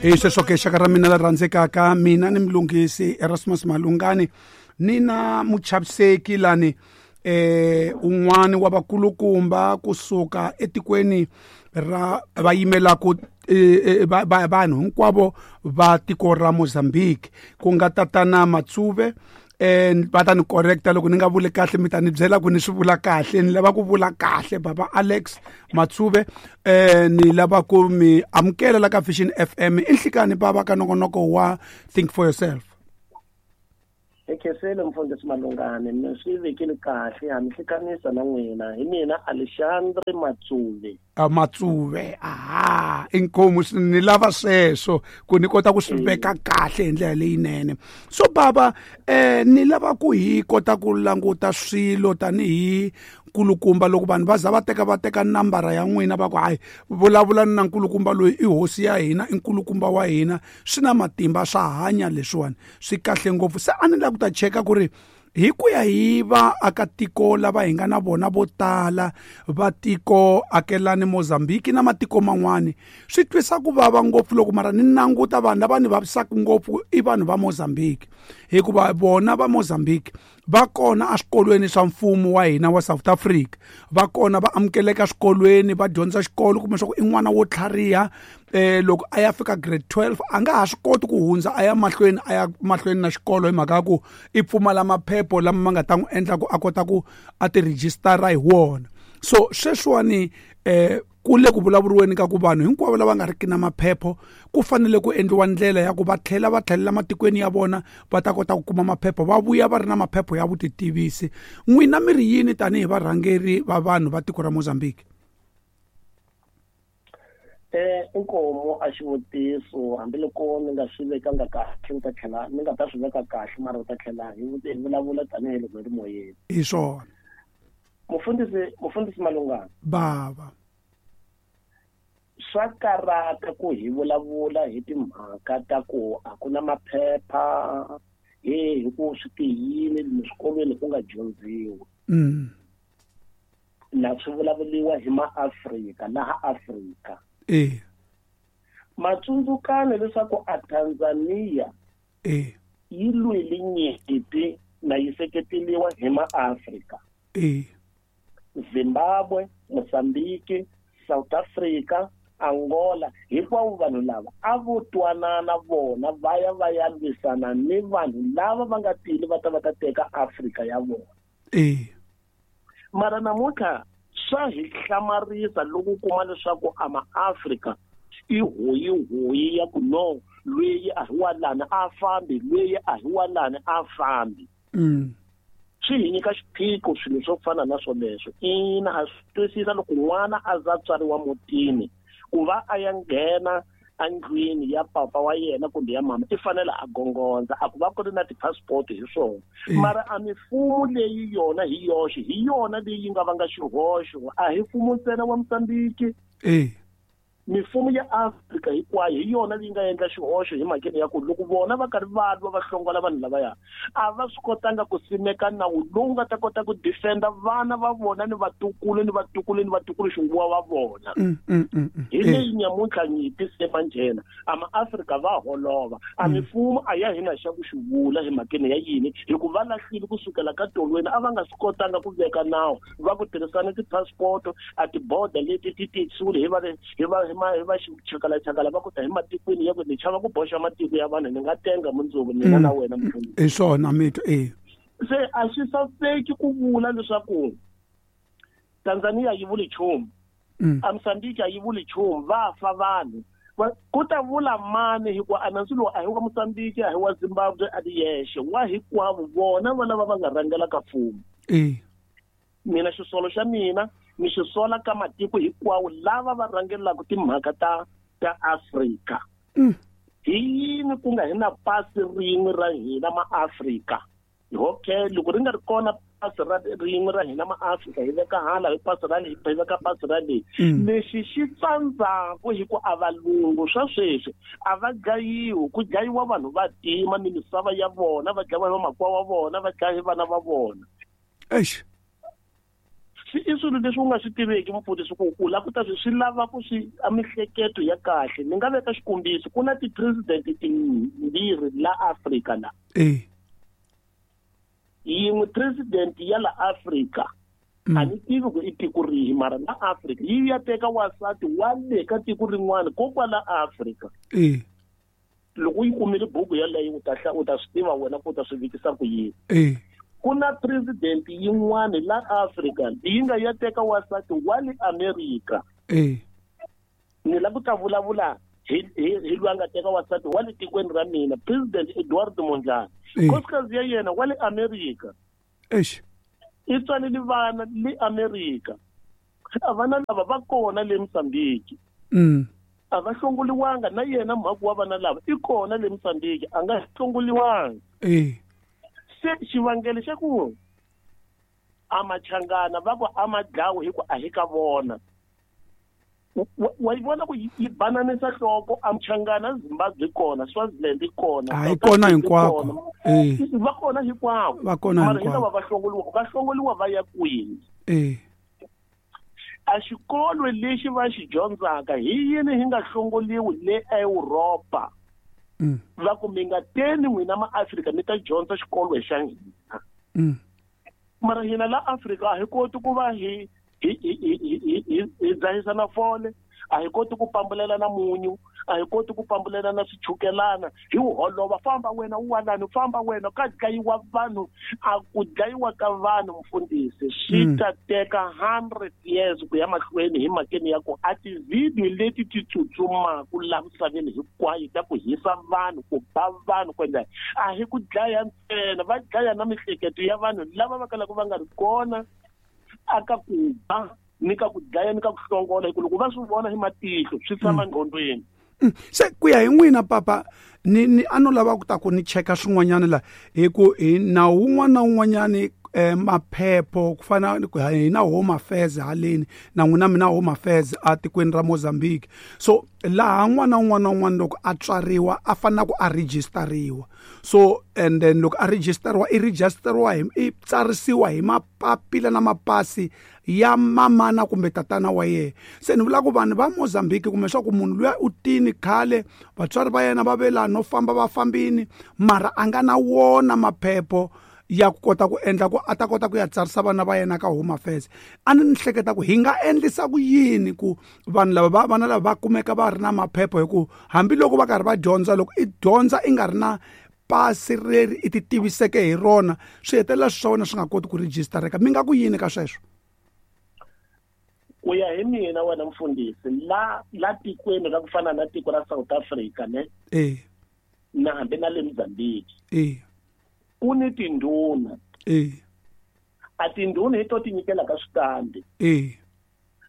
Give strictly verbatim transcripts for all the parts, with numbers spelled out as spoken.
Hi sweswo ke xaka ra mina la rhandzekaka, mina ni Mlungisi Erasmus Malungani ni na muchaviseki lani eh un'wani wa vakulukumba kusuka etikweni ra va yimelaka vanhu hinkwavo va tiko ra Mozambique, ku nga tatana Matsuve. Eh va ta ni correcta loko ni nga vuli kahle, mi ta ni byela ku ni swi vula kahle. Ni lava ku vula kahle baba Alex Matsuve. Eh ni lava ku mi amukela la ka Vision F M i nhlikani baba ka nongonoko wa Think for Yourself. Ekhesele mfundhisi Malungani, mi swi vekile kahle, ha mi hlanganisa na n'wina. Hi mina Alexandre Matsuve. A Matsuve, aha, inkomu ni lava sweswo ku ni kota ku swi veka kahle hi ndlela leyinene. So baba, eh ni lava ku hi kota ku languta swilo tanihi nkulukumba loko vanhu va za va teka va teka nambara ya n'wina va ku hayi vulavula na nkulukumba loyi i hosi ya hina, i nkulukumba wa hina, swi na matimba, swa hanya leswiwani, swi kahle ngopfu. Se a ni lava ku ta cheka ku ri hi ku ya hi vaakatiko lava hi nga na vona vo tala va tiko akelani Mozambique na matiko man'wani, swi twisa ku vava ngopfu loko mara ni languta vanhu lava ni vavisaka ngopfu i vanhu va Mozambique, hikuva vona va Mozambique va kona eswikolweni swa mfumo wa hina wa South Africa, va kona va amukeleka eswikolweni, va dyondza xikolo, kumbe swa ku i n'wana wo tlhariha. Eh loko a ya fika grade twelve a nga ha swi koti ku hundza a ya mahlweni a ya mahlweni na xikolo hi mhaka ya ku i pfumala maphepho lama ma nga ta n'wi endla ku a kota ku a ti rejistara hi wona. So sweswiwani eh ku le ku vulavuriweni ka ku vanhu hinkwavo lava nga riki na maphepho ku fanele ku endliwa ndlela ya ku va tlhela va tlhelela matikweni ya vona va ta kota ku kuma maphepho, va vuya va ri na maphepho ya vutitivisi. N'wina mi ri yini tanihi varhangeri va vanhu va tiko ra Mozambique? Eh inkomo a xivutiso, hambiloko ni nga swi vekanga kahle ni ta tlhela ni nga ta swi veka kahle, mara u ta tlhela hi vulavula tanihiloko hi ri moyeni. Hi swona. Mufundhisi mufundhisi Malungani. Baba. Swa karata ku hi vulavula hi timhaka ta ku a ku na maphepha, he hi ku swi tiyile eswikolweni ku nga dyondziwi. Mm. Na swi vulavuriwa hi maAfrika laha Afrika. Eh. Matsundzukane leswaku a Tanzania eh yi lwile nyimpi na yi seketeriwa hi maAfrika. Eh. Zimbabwe, Mozambique, South Africa, Angola, hinkwavo vanhu lava a vo twanana vona va ya va ya lwisana ni vanhu lava va nga tili va ta va ta teka Afrika ya vona. Eh. Mara namuntlha swa hi hlamarisa loko u kuma leswaku a maAfrika i hoyihoyi ya ku no lweyi a hi wa lani a fambi, lweyi a hi wa lani a fambi. Mm. Swi hi nyika xiphiqo swilo swo fana na swoleswo. Ina, ha swi twisisa loko n'wana a za tswariwa mutini ku va a ya nghena endlwini ya papa wa yena kumbe ya mama i fanele a gongondza, a ku va ku ri na ti-passport hi swona. Mara a mifumo leyi yona hi yoxe hi yona leyi nga vanga xihoxo, a hi mfumo ntsena wa Mozambique. Eh. Mifumo ya Afrika hinkwayo hi yona leyi nga endla xihoxo hi mhakeni ya ku loko vona va karhi va lwa va hlongola vanhu lavaya, a va swi kotanga ku simeka nawu lowu nga ta kota ku defenda vana va vona ni vatukulu ni vatukulu ni vatukulu xinguwa va vona. Mm, mm, mm, mm. Hi leyi nyamuntlha nyimpi se manjhena a maAfrika va holova, a mifumo a ya hina xa ku xi vula hi mhakeni ya yini, hikuva va lahlile kusukela ka tolweni, a va nga swi kotanga ku veka nawu va ku tirhisana ti-passport, a tiboda leti ti tisiwile hi va hi va hi va chakala chakala va ku ta hi matikweni ya ku ni chava ku boxa matiko ya vanhu ni nga tenga mundzuku mina na wena mfundhisi. Hi swona mito eh. Se a swi saseki ku vula leswaku Tanzania yi vuli nchumu, a Mozambique a yi vuli nchumu, va fa vanhu. Ku ta vula mani hikuva a nandzu lowu a hi wa Mozambique, a hi wa Zimbabwe a ri yexe, wa hinkwavo vona va lava va nga rhangelaka mfumo. Eh. Mina xisolo xa mina ni xisola ka matiko hinkwawo lava va rhangelaka timhaka ta ta Afrika. Mm. Hi yini ku nga hi na pasi rin'we ra hina maAfrika? Okay, loko ri nga ri kona pasi ra rin'we ra hina maAfrika hi veka hala hi pasi ra leyi, hi veka pasi ra leyi. Lexi xi tsandzaku hi ku a valungu swa sweswi a va dlayiwi, ku dlayiwa vanhu va tima ni misava ya vona, va dlayiwa hi vamakwavo wa vona, va dlaya hi vana va vona. Eish. Swi i swilo leswi u nga swi tiveki mfundhisi ku u lava ku ta swi swi lava ku swi a mihleketo ya kahle. Ni nga veka xikombiso, ku na ti-president timbirhi la Afrika la. Eh. Yin'we president ya la Afrika. Mm. A ni tivi ku i tiko rihi mara la Afrika yi ya teka wansati wa le ka tiko rin'wana ko kwala Afrika. Eh. Loko u yi kumile buku yaleyo u ta u ta swi tiva wena ku u ta swi vikisa ku yini. Eh. Ku na president yin'wana la Afrika yi nga ya teka wansati wa le Amerika. Eh. Ni lava ku ta vulavula hi hi hi loyi a nga teka wansati wa le tikweni ra mina, President Eduardo Mondlane. Nkosikazi ya yena wa le Amerika. Eish. I tswalele vana le Amerika. A vana lava va kona le Mozambique. Mm. A va hlongoliwanga na yena mhaku wa vana lava i kona le Mozambique, a nga hlongoliwanga. Eh. Se xivangelo xa ku a machangana va ku a ma dlawi hi ku a hi ka vona. Wa yi vona ku yi bananisa nhloko a machangana Zimbabwe kona, Swaziland kona, a yi kona hinkwako. Eh. Va kona hinkwako. Va kona Mara hi hinkwako. lava va hlongoliwa, va hlongoliwa va ya kwini? Eh. A xikolo lexi va xi dyondzaka hi yini hi nga hlongoliwi le Europa? Mm. Va ku mi nga teni n'wina ma-Afrika mi ta dyondza xikolo xa hina. Mm. Mara hina la Afrika a hi koti ku va hi hi hi hi hi hi dzahisa na fole, a hi koti ku pambulela na munyu, a hi koti ku pambulela na swichukelana, hi wu holova famba wena u walani, famba wena ka dlayiwa vanhu, a ku dlayiwa ka vanhu mfundhisi swi ta teka hundred years ku ya mahlweni hi mhakeni ya ku a ti-video leti ti tsutsumaka la misaveni hinkwayo ta ku hisa vanhu, ku ba vanhu, ku endla a hi ku dlaya ntsena, va dlaya na mihleketo ya vanhu lava va kalaka va nga ri kona aka ku ba ni ka ku dlaya ni ka ku hlongola, hi ku loko va swi vona hi matihlo swi tshama nqondweni. Se ku ya hi n'wina papa, ni ni a no lava ku ta ku ni cheka swin'wanyana la hi ku hi nawu wun'wana na wun'wanyani eh, maphepho ku fana hi na Home Affairs haleni na n'wina mi na Home Affairs a tikweni ra Mozambique. So laha n'wana wun'wana na wun'wana loko a tswariwa a fanele ku a registeriwa. So and then loko a registeriwa i registeriwa hi i tsarisiwa hi mapapila na mapasi ya mamana kumbe tatana wa yena. Se ni vula ku vanhu va Mozambique kumbe swa ku munhu luya u tini khale vatswari va yena va ve laha no famba va fambini mara a nga na wona maphepho ya ku kota ku endla ku a ta kota ku ya tsarisa vana va yena ka Home Affairs. A ni ni hleketa ku hi nga endlisa ku yini ku vanhu lava va vana lava va kumeka va ri na maphepho, hi ku hambiloko va karhi va dyondza, loko i dyondza i nga ri na pasi leri i ti tiviseke hi rona, swi hetelela swi swa wena swi nga koti ku registereka. Mi nga ku yini ka sweswo? Ku ya hi mina wena mfundhisi, la la tikweni ra ku fana na tiko ra South Africa ne? Eh. Na hambi na le Mozambique. Eh. Ku ni tindhuna. Eh. A tindhuna hi to ti nyikela ka switandi. Eh.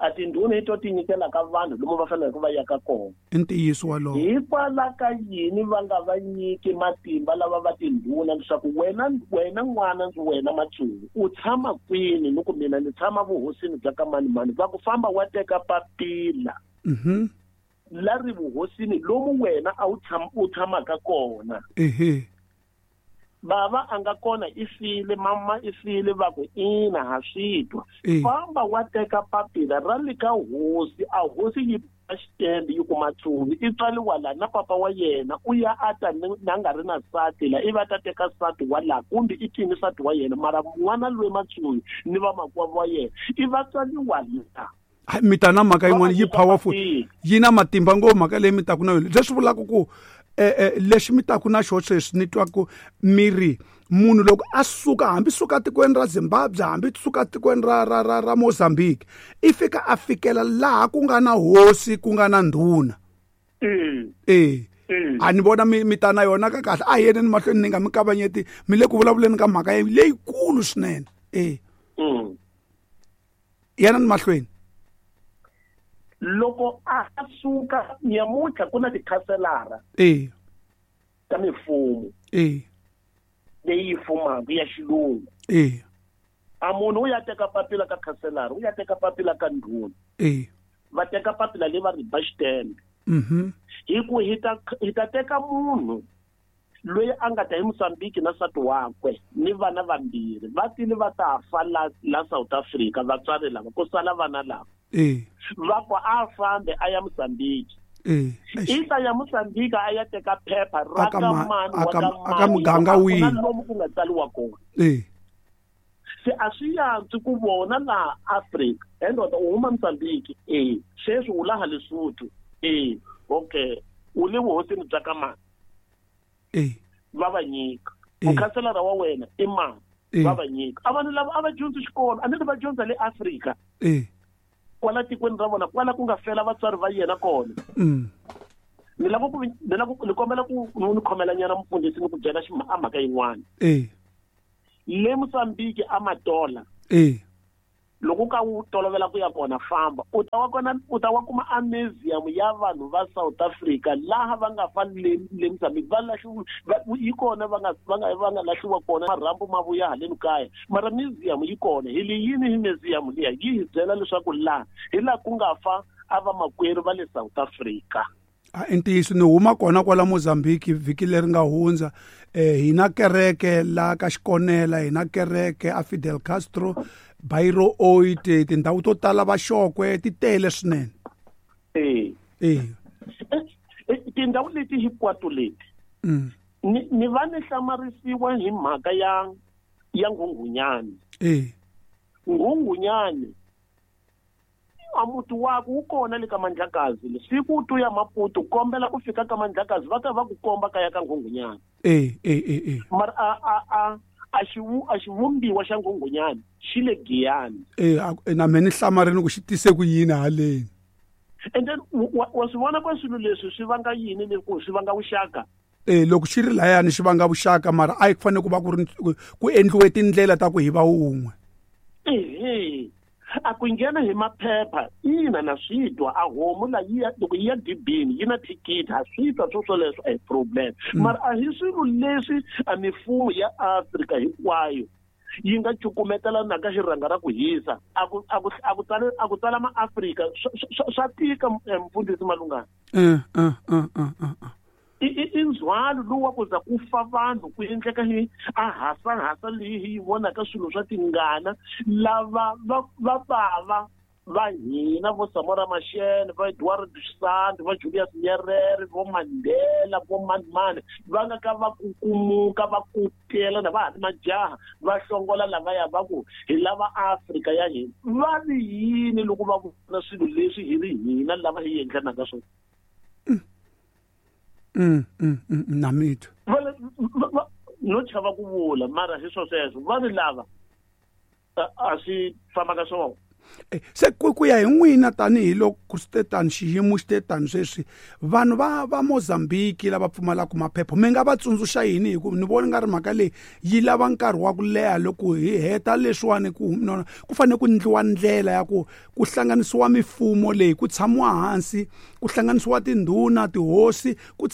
A tindhuna hi to ti nyikela ka vanhu lomu va faneleke va yaka kona. I ntiyiso walowo. Hikwalaho ka yini va nga va nyiki matimba lava va tindhuna leswaku wena wena n'wana ndzi wena Matsulu u tshama kwini, ni ku mina ni tshama vuhosini bya ka mani mani, va ku famba wa teka papila. Mhm. La ri vuhosini lomu wena a wu tshama u tshamaka kona. Ehe. Bava a nga kona i file, mama i file, va ku ina ha swi twa. Famba wa teka papila ra le ka hosi, a hosi yi ba xitembe yi ku Matsulu i tswariwa la na papa wa yena u ya a ta na nga ri na nsati la, ivi a ta teka nsati wa la kumbe i tini nsati wa yena, mara n'wana loyi Matsulu ni vamakwavo wa yena i va tswariwa la. Mi ta na mhaka yin'wana yi powerful, yi na matimba ngopfu mhaka leyi mi taku na yona. Leswi vulaka ku eh eh lexi mi taku na xona sweswi ni twa ku miri munhu loko a suka hambi suka tikweni ra Zimbabwe hambi suka tikweni ra ra ra ra Mozambique i fika a fikela laha ku nga na hosi ku nga na ndhuna. Eh. Eh. A ni vona mi mi ta na yona ka kahle, a hi yeneni mahlweni ni nga mi kavanyeti, mi le ku vulavuleni ka mhaka leyikulu swinene. Eh. Mm. Yana ni mahlweni. Loko a suka nyamuntlha ku na tikhanselara eh ta mifumo eh leyi fumaka ya xilungu. Eh. A munhu u ya teka papila ka khanselara, u ya teka papila ka ndhuna. Eh. Va teka papila leri va ri ba xitembe. Mhm. Hi ku hi ta hi ta teka munhu Loyi a nga ta hi Mozambique na nsati wakwe ni vana vambirhi va tile va ta fa la la South Africa vatswari lava ku sala vana lava eh va ku a fambe a ya Mozambique eh i ta ya Mozambique a ya teka phepha ra Aka ka ma- mani wa aka- ka aka mani muganga a ku wihi? na lomu ku nga tsariwa kona eh se a swi yantswi ku vona laha Afrika endoda u huma Mozambique eh sweswi u laha Lesotho eh okay u le vuhosini bya ka mani eh va va nyika Eh. mukhanselara wa wena i mani Eh. va va nyika a vanhu lava a va dyondzi xikolo a ni ri va dyondza le Afrika eh kwala tikweni ra vona kwala ku nga fela vatswari va yena kona mm ni lava ku ni lava ku ni kombela ku ni khomela nyana mufundhisi ni ku byela xi a mhaka yin'wana eh le Mozambique a Matola eh loko ka wu tolovela ku ya kona famba u ta wa kona u ta wa kuma a museum ya vanhu va South Africa laha va nga fa le le Mozambique va lahliwa va- yi kona va nga va nga va nga lahliwa kona marhambu ma vuya haleni kaya mara museum yi kona hi le yini hi museum liya yi hi byela leswaku laha hi laha ku nga fa a vamakwerhu va le South Africa a i ntiyiso ni huma kona kwala Mozambique vhiki leri nga hundza eh hi na kereke la ka Xikonela hi na kereke a Fidel Castro Bairro Oite tindhawu to tala va Xokwe ti tele swinene eh eh Eh, tindhawu leti hinkwato leti mm ni ni va ni hlamarisiwa hi mhaka ya ya Nghunghunyani eh Nghunghunyani a muti wakwe wu kona le ka Mandlakazi le siku u to ya Maputo kombela ku fika ka Mandlakazi va ta va ku komba kaya ka Nghunghunyani eh eh eh eh mara a a a a xivu a xivumbiwa xa Nghunghunyani xi le Giyani eh a- na me ni hlamarini ku xi tise ku yini haleni and then wa wa swi vona ka swilo leswi swi vanga yini le ku swi vanga vuxaka eh loko xi ri layani xi vanga vuxaka mara a yi fanele ku va ku ri ku endliwe tindlela ta ku hi va wun'we ehe a ku nghena hi maphepha ina na swi twa a homu la yi ya loko yi ya dibini yi na thikithi ha swi twa swo swoleswo a hi problem mara a hi swilo leswi a mifumo ya Afrika hinkwayo yi nga cukumetelanaka xirhanga ra ku hisa a ku a ku a ku tsala a ku tsala maAfrika swa swa- swa tika eh, mfundhisi Malungana eh eh eh eh eh, eh. i i- i ndzhwalo lowu wa ku za ku fa vanhu ku endleka hi a hasahasa leyi hi yi vonaka swilo swa tingana lava va va bava va hina vo Samora Machel va Eduardo Santos va Julius Nyerere vo Mandela vo mani mani va nga ka va kukumuka va kutela na va ha ri majaha va hlongola lavaya va ku hi lava Afrika ya hina va ri yini loko va vona swilo leswi hi ri hina lava hi endlanaka swona mm mm mm, na mitwa va le- va- va- no chava ku vula mara hi swo sweswo va ri lava a a swi fambaka swona Eh, se ku ku ya hi n'wina tanihiloko swi te tani xiyimo xi te tani sweswi vanhu va va Mozambique lava pfumalaka maphepha mi nga va tsundzuxa yini hi ku ni vona nga ri mhaka leyi yi lava nkarhi wa ku leha loko hi heta leswiwani ku nona ku fanele ku endliwa ndlela ya ku ku hlanganisiwa mifumo leyi ku tshamiwa hansi ku hlanganisiwa tindhuna tihosi ku